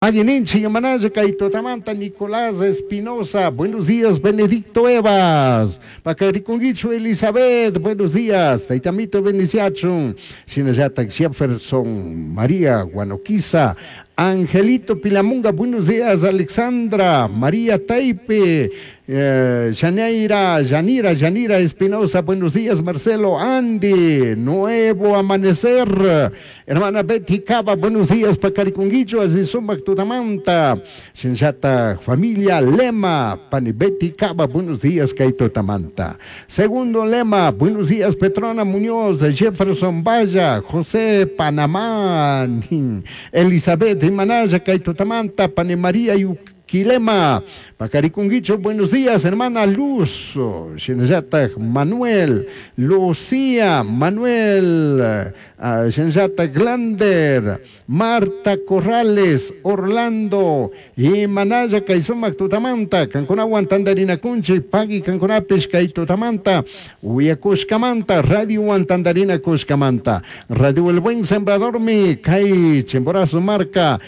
Aguininchi Yamanaya Kaitotamanta Nicolás Espinosa, buenos días Benedicto Evas, Pacarikunguichu Elizabeth, buenos días, Taitamito Beniciachun, Shinallata Jefferson María Guanoquiza, Angelito Pilamunga, buenos días Alexandra, María Taipe, Janeira, Yanira, Yanira Espinosa, buenos días Marcelo, Andy, Nuevo Amanecer, hermana Betty Cava, buenos días Pacarikunguicho, Azizumac Tutamanta, Shinshata, familia Lema, Pani Betty Cava, buenos días Kaito Tamanta. Segundo lema, buenos días Petrona Muñoz, Jefferson Valla, José Panamá, Elizabeth Imanaya, Kaito Tamanta, Pani María Yuquilema, Pacarikunguicho, buenos días, hermana Luz, Shinshata Manuel, Lucía, Manuel, Shinshata Glander, Marta Corrales, Orlando, y Manaya Kaisumac Tutamanta, Cancunawan Tandarina Kunchi, Pagui Cancunapish Kaitutamanta, Uyakushkamanta, Radio Tandarina Kushkamanta, Radio El Buen Sembrador Mi, Kai Chimborazo Marca,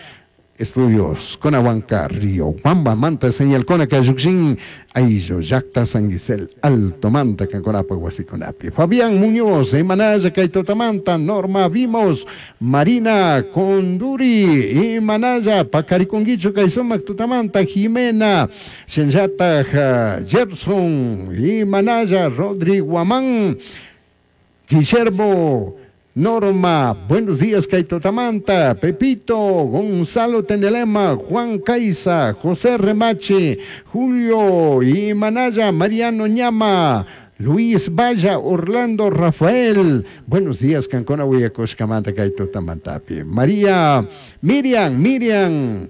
Estudios Conahuanca, Río Guamba, Manta, Señal Cona, Cayuxin, Aillo, Yacta, San Gisel, Alto Manta, Canconapa, Huasiconapi. Fabián Muñoz, Emanaya, Caitotamanta, Norma Vimos, Marina Conduri, Emanaya, Pacariconguicho, Caizomac, Tutamanta, Jimena, Senyata, Gerson, Emanaya, Rodrigo Guamán, Guillermo Norma, buenos días, Kaitotamanta, Pepito, Gonzalo Tenelema, Juan Caiza, José Remache, Julio y Manaya, Mariano Ñama, Luis Valla, Orlando Rafael, buenos días, Cancona Huyacoshkamanta, Kaitotamantapi, María, Miriam, Miriam,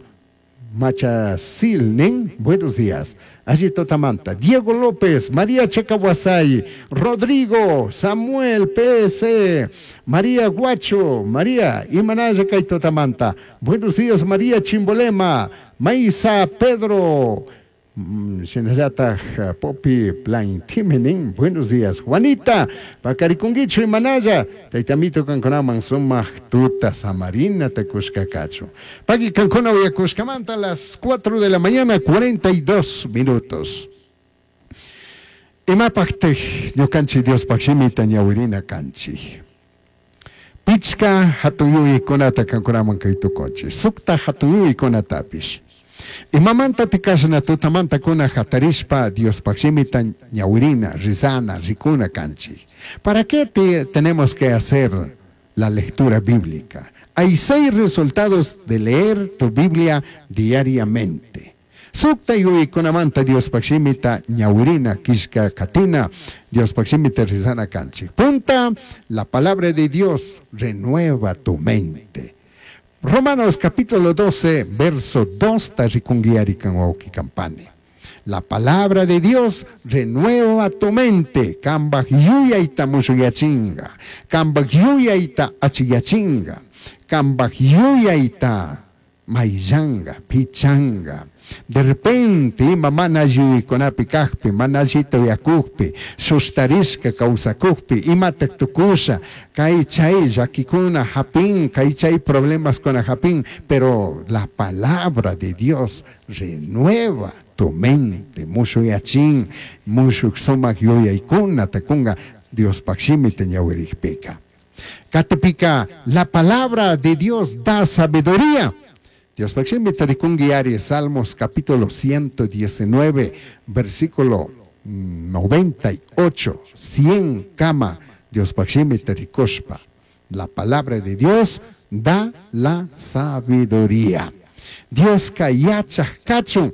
Machacilnin, buenos días. Allí Totamanta, Diego López, María Chacahuasay, Rodrigo, Samuel PS, María Guacho, María Imanaya Kaitotamanta. Buenos días, María Chimbolema, Maisa Pedro, Shinallata Popi Plantimenin, buenos días, Juanita, Pacarikunguicho Imanaya, Taitamito Canconaman Sumaj Tuta Samarina Tecushcacacho. Paqui Cancona Uyacushcamanta a las 4 de la mañana, 42 minutos. Imapajtej ñukanchik Diospaj shimita ñawirina kanchik. Pichka hatun yuyaykunata kankunaman kay tukunchik. Sukta hatun yuyaykunatapish. Imamanta tikashna tutamanta kuna hatarishpa Diospaj shimita ñawirina, rizana, rikuna kanchik. ¿Para qué tenemos que hacer la lectura bíblica? Hay 6 resultados de leer tu Biblia diariamente. Sukta yuyaykunamanta Diospaj shimita ñawirina, kishka katina, Diospaj shimita rizana kanchik. Punta, la palabra de Dios renueva tu mente. Romanos capítulo 12, verso 2, tarrikunguiari kanwauki kampani. La palabra de Dios renueva tu mente. Kambaj yuyayta mushuyachinga. Kambaj yuyayta achiyachinga. Kambaj yuyayta mayllanga, pichanga. De repente, ima mana yuyaykunapi kajpi, mana allita uyakujpi, sustarishka kawsakujpi, imata tukusha, kay chay llakikuna japin, kay chay problemaskuna japin, pero la palabra de Dios renueva tu mente, mushuyachin, mushuk sumak yuyaykuna takunga Diospaj shimita ñawirikpika. Katipika, la palabra de Dios da sabiduría. Diospaj shimita rikungi ari, Salmos capítulo 119, versículo 98, 100 kama, Diospaj shimita rikushpa. La palabra de Dios da la sabiduría. Dios ka yachaj kachun,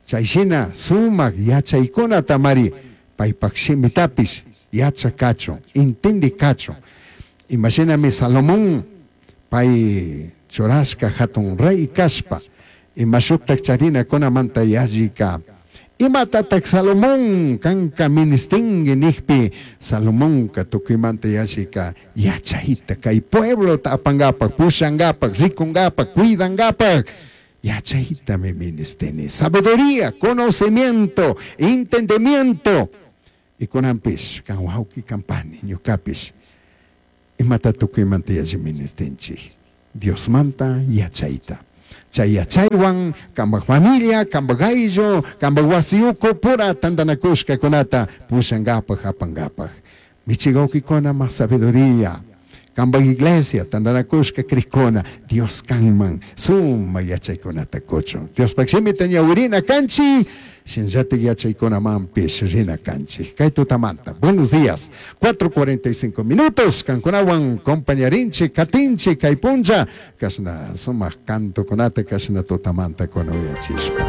chayshina sumak yachaykuna tamari, paypaj shimitapish yachaj kachun, intindi kachun. Imashinami Salomón, pay churashka hatun rey kashpa, imashuktak charina kunamanta yallika. Imatatak Salomón kanka ministingi nijpi, Salomónka tukuymanta yallika yachayta kay pueblota apangapak, pushangapak, rikungapak, cuidangapak. Yachayta mi ministini. Sabiduría, conocimiento, entendimiento. Y kunanpish, kan wawki kampani, ñukapish. Imata tukuymanta yalli ministinchik. Diosmanta yachayta. Chay yachaywan kambaj familia, kambaj ayllu, kambaj wasi uku pura tandanakushkakunata pushankapaj apankapaj. Michigawkikuna más sabiduría. Kambaj iglesia tandanakushka krikuna Dios kanman suma yachaykunata kuchun. Diospaj shimita ñawirina kanchik, shinallatik yachaykunamanpish rina kanchik. Kay tutamanta, buenos días, 4:45 minutos, kankunawan compañarinchik, katinchik kay punlla, kashna sumak cantokunata kashna tutamanta kuna uyachishpa.